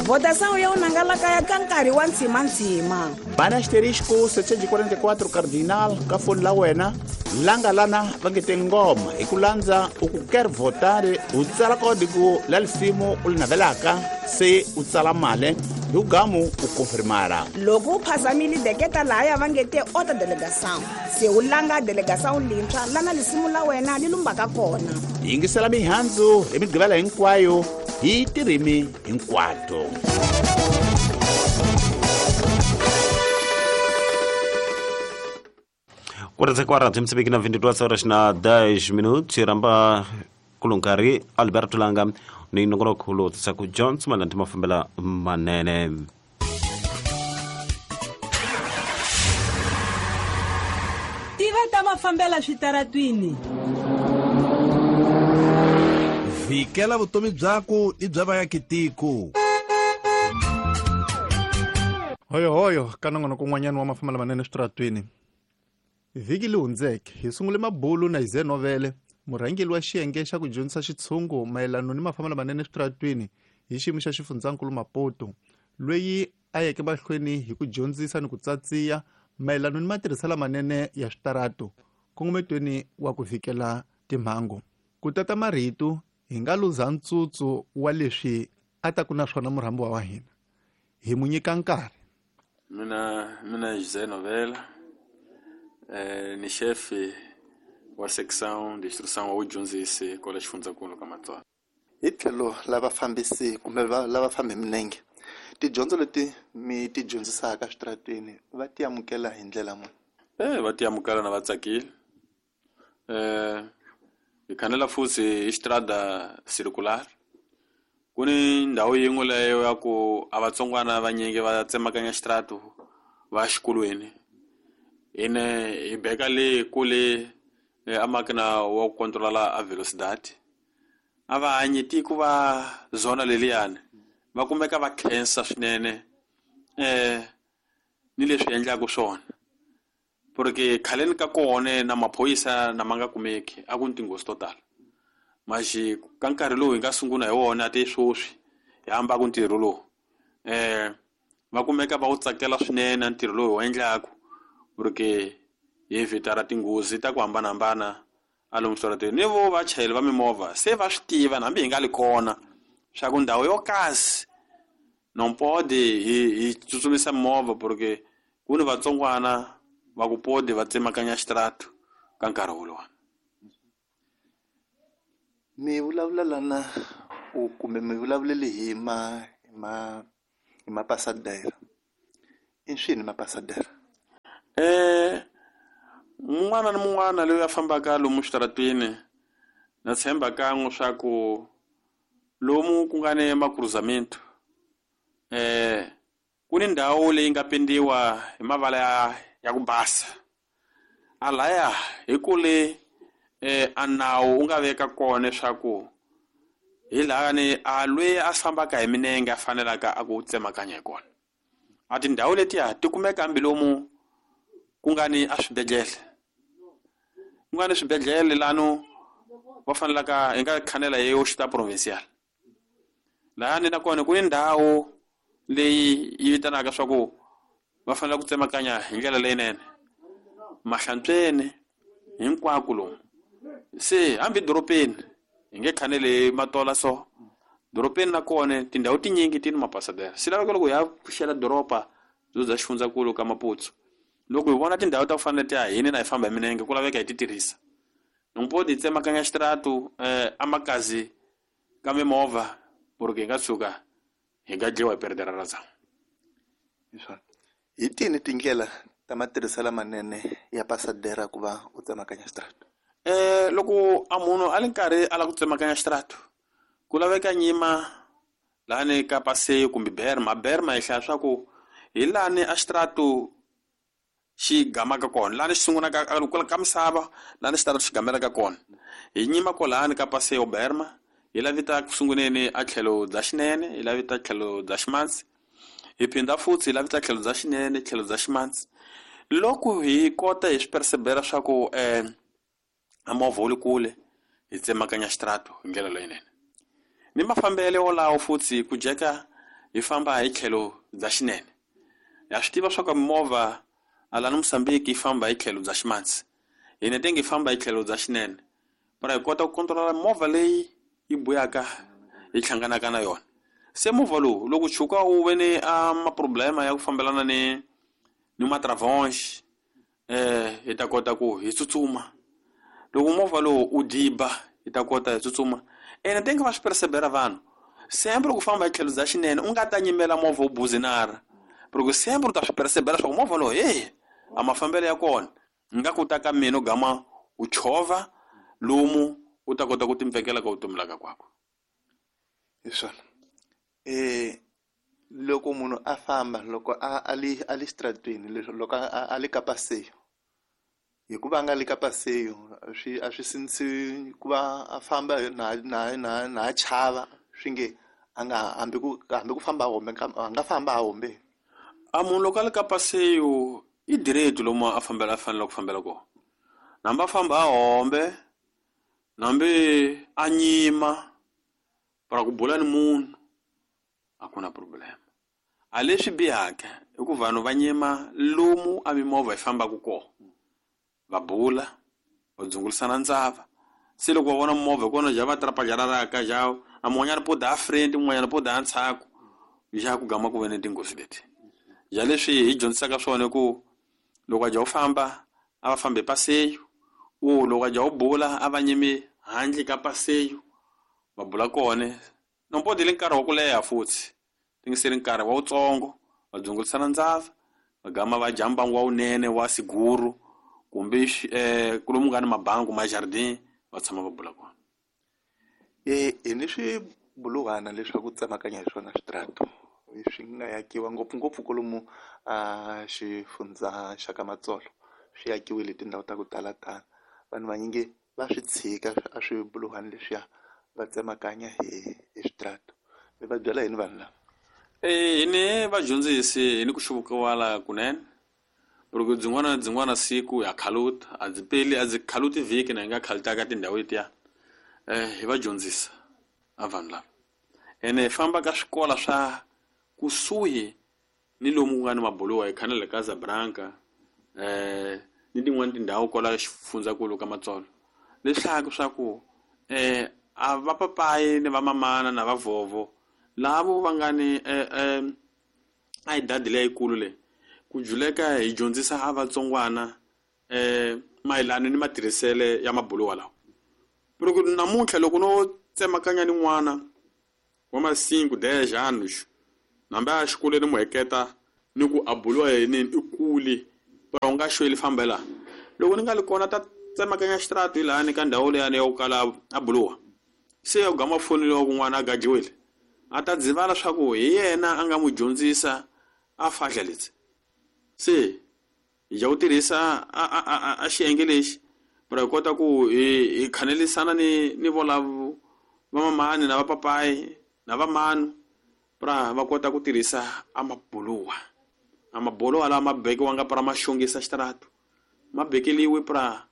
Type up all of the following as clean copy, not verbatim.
Votação ya unanga kaya ka nkarhi wa ntsimantsima. Bana asterisco 744 cardinal ka foni la wena langa lana va nge te ngoma hi ku landza u ku ker votare u tsala kodi ku la lisimu u li navelaka se u tsala male hi ugamu u konfirmara. Loko u phazamile deketa lahaya va nge te ota delegação, se u langa delegação lintshwa lana lisimu la wena li lumbaka kona. Yingisela mihandzu hi migqivela hinkwayo hi tirimi hinkwato. Quarenta e Moçambique na 22 horas na 10 minutos ramba kulunkari Alberto Langa ni nongonoko lowu tisaku Johnson Malanti mafambela manene. Tiva ta mafambela switaratwini. Vikela vutomi byaku i bya vaakitiko. Hoyo hoyo ka nongonoko un'wanyana wa mafambela manene switaratwini. Vhiki leyi hundzeke hi sungule mabulu na Ize Novele, murhangeri wa xiyenge xa ku dyondzisa xitshungu mayelana ni mafambelo manene switaratwini hi xiyimo xa xifundzankulu Maputo, loyi a yeke mahlweni hi ku dyondzisa ni ku tsatsiya mayelana ni matirhiselo manene ya switarato nkongometweni wa ku vikela timhangu. Ku tata marito hi nga luza ntsutsu wa leswi a ta ku na swona murhambiwa wa hina, hi mu nyika nkarhi. Mina José Novela, ni chefe wa section de instrução wa vudyondzisi kwala xifundzankulu ka Matswana. Hi tlhelo la vafambisi kumbe lava fambi milenge, tidyondzo leti mi ti dyondzisaka switarateni va ti amukela hi ndlela muni? Va ti amukela na va tsakile. Hi khanela futhi hi xitrada circular. Ku ni ndhawu yin'we leyo ya ku a vatsongwana vanyingi va tsemakanya xitratu va xikolweni. Ene hi beka le kule a makina wa ku controla a velocidade. A va hanyi tiko va zona leliyani, va kumeka va khensa swinene ni leswi endlaka swona. Porque khaleni ka kona na maphorisa na ma nga kumeki a ku ni tinghozi to tala. Maxi ka nkarhi lowu hi nga sungula hi wona te sweswi hi hamba ku ntirho lowu. Va kumeka va wu tsakela swinene ntirho lowu hi wu endlaku, porque hi evitara tinghozi ta ku hambanahambana a lomu switarateni. Ni vo vachayeri va mimovha se va swi tiva hambi hi nga li kona swa ku ndhawu yo kasi non pode hi tsutsumisa mimovha, porque ku ni vatsongwana va ku pode va tsemakanya xitratu ka nkarhi wolowo. Mi vulavula lana u kumbe mi vulavulele hi hi mapasadera. I swini mapasadera? Mun'wana ni mun'wana loyi a fambaka lomu switarateni na tshemba kan'we swa ku lomu ku nga ni makruzamento, ku ni ndhawu leyi nga pendiwa hi mavala ya ku basa. A laya hi kule a nawu wu nga veka kona leswaku hi laha ni a loyi a fambaka hi milenge a fanelaka a ku tsemakanya hi kona. A tindhawu letiya ti kumeka hambi lomu ku nga ni a swibedhlele. Ku nga ni swibedhlele lano va fanelaka hi nga khanela hi hospital provincial. Lahani na kona ku ni ndhawu leyi yi vitanaka swa ku va fanele ku tsemakanya hi ndlela leyinene. Mahlantsweni hinkwako lomu. Se hambi doropeni hi nge khaneli matola so. Doropeni na kona tindhawu tinyingi ti ni mapasadera. Swi laveka loko hi ya pfuxela doroba byo bya xifundzankulu ka Maputo. Loko hi vona tindhawu ta ku fana na letiya hini na hi famba hi milenge ku laveka hi ti tirhisa. Loko hi tsemakanya xitratu a makazi ka mimovha porque hi nga tshuka hi nga dyiwa hi perdera ra zamu. Hi tini tindlela ta matirhiselo lamanene ya pasadera ku va u tsemakanya xitratu? Loko a munhu a li karhi a lava ku tsemakanya xitratu, ku laveka nyima lani ka paseo kumbe berma. Berma hi hlaya swa ku hi lani a xitratu xi gamaka kona, lani xi sungulaka ka misava, lani xitratu xi gamelaka kona. Hi nyima kwalani ka paseo berma, hi lavita ku sunguleni a tlhelo bya xinene, hi lavita tlhelo bya ximatsi. Hi phinda futhi hi lavita tlhelo bya xinene, tlhelo bya ximatsi. Loko hi kota hi swi persevera swa ku a movha wu le kule, hi tsemakanya xitratu hi ndlela leyinene. Ni mafambelo wolawo futhi ku jeka hi famba hi tlhelo bya xinene. Ha swi tiva swa ku mimovha alani Mozambique yi famba hi tlhelo bya ximatsi, hina tenge hi famba hi tlhelo bya xinene, para hi kota ku controla movha leyi yi buyaka hi hlanganaka na yona. Se movha lowu loko tshuka wu ve ni a maproblema ya ku fambelana ni matravonge, hi ta kota ku hi tsutsuma. Loko movha lowu u diba, hi ta kota hi tsutsuma. Ene tenge va swi persevera vanhu sempre ku famba hi tlhelo bya xinene, u nga ta nyimela movha wu buzinara, loko sempre u ta swi persevera swa ku movha lowu hey a mafambelo ya kona nga ku ta ka mina u gama u chovha lomu u ta kota ku timpfekela ka vutomi la ka kwakwe. Hi swona. Loko munhu a famba, loko a li xitarateni, loko a li ka paseyo, hikuva a nga li ka paseyo a swi sindzisi ku va a famba na chava, swi nge a nga hambi ku famba a hombe, a nga famba a hombe. A munhu loko a li ka paseyo i direct lomu a fambela a fanele ku fambela kona, nambi a famba a hombe, nambi a nyima para ku bula ni munhu, a ku na problem. A leswi bihaka i ku vanhu va nyima lomu a mimovha yi fambaka kona, va bula, va dzungulisana ndzava. Se loko va vona movha kona ja va trapajararaka ja a mun'wanyana po da friend, mun'wanyana po da ntshaku, ja ku gama ku ve ni tinghozi leti. Ja leswi hi dyondzisaka swona ku loko a ja u famba a va fambi paseyo, u loko a ja u bula a va nyimi handle ka paseyo, va bula kona. Nompo dile nkarhi wa ku leha futhi, tingiseli nkarhi wa wutsongo, va dzungulisana ndzava, va gama va dya mbangu wa wunene wa siguru, kumbe kulomu nga ni mabangu ma jardin, va tshama va bula kona. Hi ni swibuluhwana leswaku tsemakanya hi swona switrato swi nga yakiwa ngopfungopfu kwalomu a xifundza xa ka Matsolo, swi yakiwile tindhawu ta ku talatala. Vanhu vanyingi va swi tshika a swibuluhwana leswiya, va tsemakanya hi switrato. Mi va byela yini vanhu lava? Hi ni vadyondzisi, hi ni ku xuvukiwala kunene. Loko byin'wana na byin'wana siku ya khaluta, a byi peli, a byi khaluti vhiki na hi nga khalutaka tindhawu letiya. Hi va dyondzisa a vanhu lava. Ene hi famba ka swikolo swa kusuhi ni lomu ku nga ni mabuluwa, hi khana le ka Casablanca, ni tin'wani tindhawu kwala xifundzankulu ka Matsolo. Leswaku swa ku a va papayi ni va mamana na va vovo lavo va nga ni a hi dadi leyikulu leyi ku juleka hi dyondzisa a vatsongwana mayelana ni matirhisele ya mabuluwa lawa. Loko namuntlha loko no tsemakanya ni n'wana wa ma-5 10 anos, nambe a xikolweni mu heketa ni ku a buluwa yini i kule, para u nga xweli fambela. Loko ni nga li kona ta tsemakanya xitrato hi lahani ka ndhawu leyani ya ku kala a buluwa, se ya ku gama fonini wa kun'wana a gajiwile, a ta dzivala swa ku hi yena a nga n'wi dyondzisa a fahla leti. Se hi ja ku tirhisa a xiyenge lexi para hi kota ku hi khanelisana ni volavo va mamani na va papayi na va manu, para va kota ku tirhisa a mabuluwa. A mabuluwa lawa ma bekiwanga para ma xongisa xitrato, ma bekeliwe para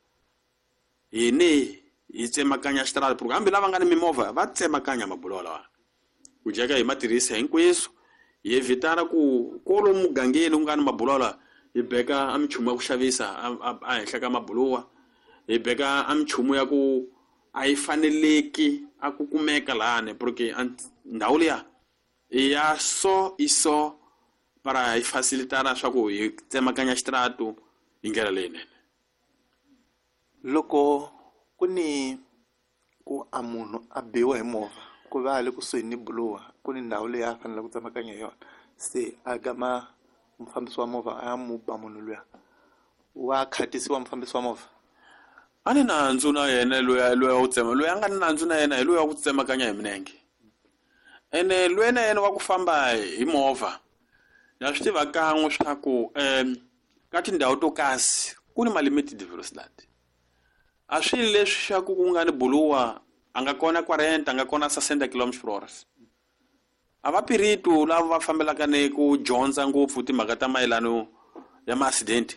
hine hi tsemakanya xitrato, hambi lava nga ni mimovha va tsemakanya mabuluwa lawa. Ku jeka hi ma tirhisa hinkweswo, hi evitana ku kwalomu mugangeni ku nga ni mabuluwa lawa, hi beka a minchumu ya ku xavisa a henhla ka mabuluwa, hi beka a minchumu ya ku a yi faneleki a ku kumeka lahani, porque ndhawu liya i ya so i so, para hi facilitana swa ku hi tsemakanya xitrato hi ndlela leyinene. Loko ku ni ku a munhu a biwa hi movha, ku va a le kusuhi ni buluwa, ku ni ndhawu leyi a faneleke ku tsemakanya hi yona, se a gama mufambisi wa movha a ya mu ba munhu luya, wa khatisiwa mufambisi wa movha? A ni nandzu na yena loyi wa ku tsema, loyi a nga ni nandzu na yena hi loyi wa ku tsemakanya hi milenge. Ene loyi na yena wa ku famba hi movha, na swi tiva kan'we swa ku ka tindhawu to kasi ku ni ma-limited velocity. A swi leswi swa ku ku nga ni buluwa, a nga kona 40, a nga kona 60 kilometers per hour. A va piritu lava va fambelaka ni ku dyondza ngopfu timhaka ta mayelano ya ma-accident,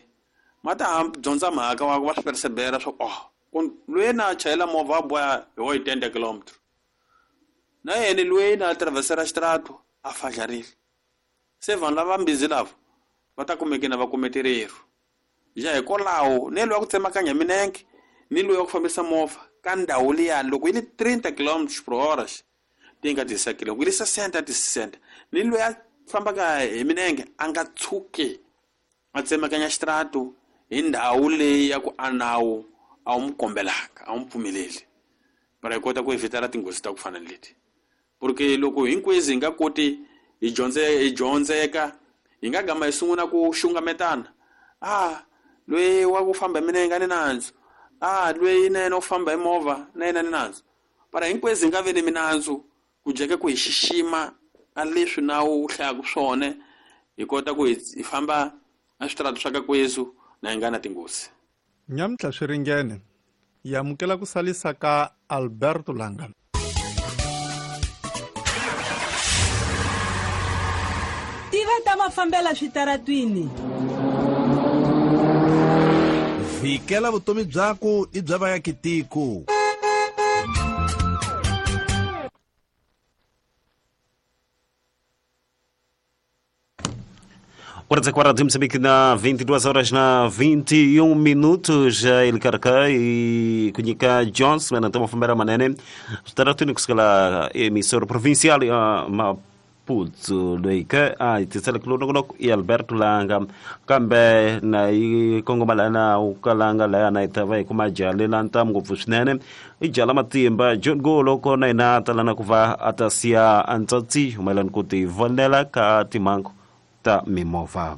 ma ta dyondza mhaka wa va swi persevera swa ku, oh, loyi na chayela movha a boha hi wo hi 10 kilometers. Na yena loyi na traversera xitrato a fadlarile. Se vanhu lava mbizi lava va ta kumeke na va kume tirero. Ja hikwalaho ni loyi wa ku tsemakanya minenge ni loyi wa ku fambisa movha ka ndhawu liyani loko yi li 30 km per hora ti nga tisakile loko yi li 60 ti 60 ni loyi a fambaka hi minenge a nga tshuki a tsemakanya xitaratu hi ndhawu leyi ya ku a nawu a wu n'wi kombelaka a wu n'wi pfumeleli para hi kota ku evitara tinghozi ta ku fana ni leti porque loko hinkwezi hi nga koti hi hi dyondzeka hi nga gama hi sungula ku xungametana a loyi wa ku famba hi minenge a ni nandzu a loyi na yena u famba hi movha na yena ni nandzu para hinkwezi hi nga ve ni minandzu ku jeka ku hi xixima a leswi nawu wu hlayaka swona hi kota ku hi famba a switaratu swa ka kwezu na hi nga na tinghozi. Nyamuntlha swi ringene hi amukela ku salisa ka Alberto Langa. Tiva ta mafambela switaratwini. Vhikela vutomi byaku i bya vayakitiko. Quarta de Moçambique na 22 horas na 21 minutos ele carca e kunhika Jones mena tamo fambera manene staratuni kusukela emissora provincial ya Maputo loika a tisela kulonoko e Alberto Langa kambe na yi kongomalana ukalanga la na itava kuma jale la ntam ngopfu swinene i jala matimba John Golo kona ina talana kuva atasia antsatsi humelani ku ti vonela ka timango ta mimovha.